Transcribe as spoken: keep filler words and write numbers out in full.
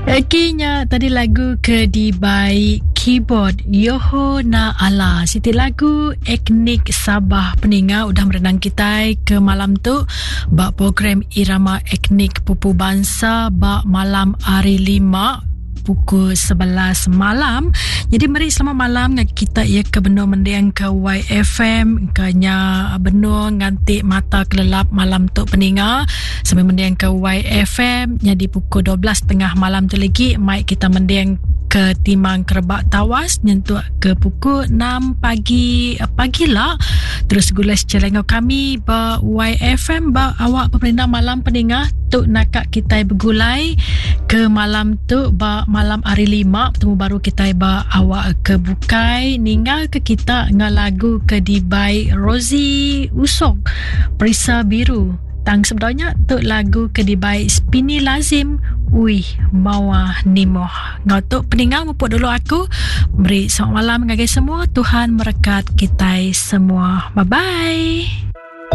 Okey nya tadi lagu ke dibai keyboard Yoho Na Ala. Siti lagu etnik Sabah peninga udah merenang kita ke malam tu ba program Irama Etnik Pupu Bangsa ba malam hari lima pukul sebelas malam. Jadi meri selamat malam dengan kita ya ke benung mendiang ke Y F M kanya benung nganti mata kelelap malam tu peninga sambil mendiang ke Y F M. Jadi pukul dua belas tiga puluh malam tu lagi mai kita mendiang ke Timang Kerebak Tawas nyentuk ke pukul enam pagi pagi lah. Terus gula secara dengan kami ba Y F M ba awak pemerintah malam peninga tu nakak kita bergulai ke malam tu ba malam hari lima. Bertemu baru kita ba awak ke bukai, ninggal ke kita dengan lagu ke dibai Rosie Usok, Perisa Biru. Tang sebenarnya tu lagu ke dibai Spini Lazim, Uih Mawa Nimoh. Ngau tu peninggal mupuk dulu aku. Beri selamat malam ngagai semua. Tuhan merekat kita semua. Bye bye.